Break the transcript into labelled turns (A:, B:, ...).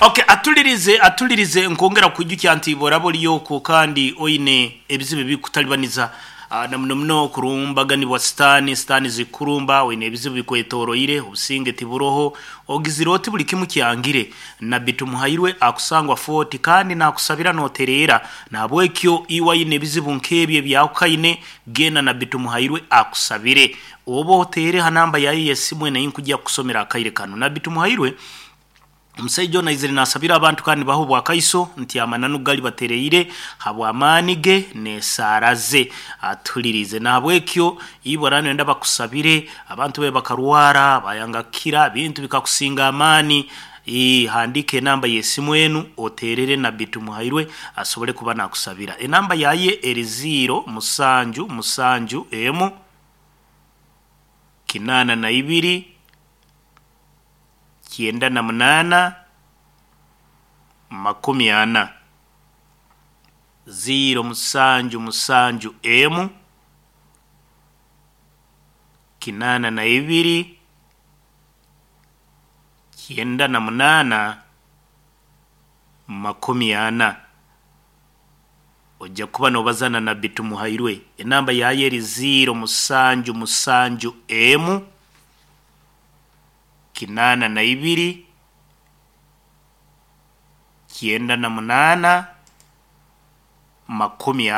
A: Okay, atulirize, atulirize. Nkongera kwijukya nti boraba oliyoku kandi oine ebizibu ebikutalibaniza, na muno muno kurumbaganibwa sitaani, sitaani zikurumba, oine ebizibu bikwetoroire, obusinge tiburoho, ogizire oti buli kimu kyangire. Nabbi Tumuhairwe akusangwa Fort kandi nakusabira notereera. Nahabwekyo iwe aine ebizibu nk'ebyo ebyahukaine, genda Nabbi Tumuhairwe akusabire. Oba oteere ha namba yaye y'esimu enu einkujya kukusomera akaire kanu. Nabbi Tumuhairwe omusaija onu aizire nasabira abantu kandi nibaha obwakaiso nti amananu gali batereire habw'amaani ge n'esaara ze. Atuhuliriize. Nahabwekyo iwe oraba noyenda bakusabire, abantu be bakarwara bayanga kukira, bintu bikakusinga amaani, handiika enamba y'esimu enu oterere Nabbi Tumuhairwe asobole kuba nakusabira. Enamba yaye eri 0 7 7 emu 82 98 40. 0 7 7 emu 82 98 40. Ojja kuba nobaza na Nabbi Tumuhairwe. Enamba yaye eri 0 7 7 emu 82 98 40.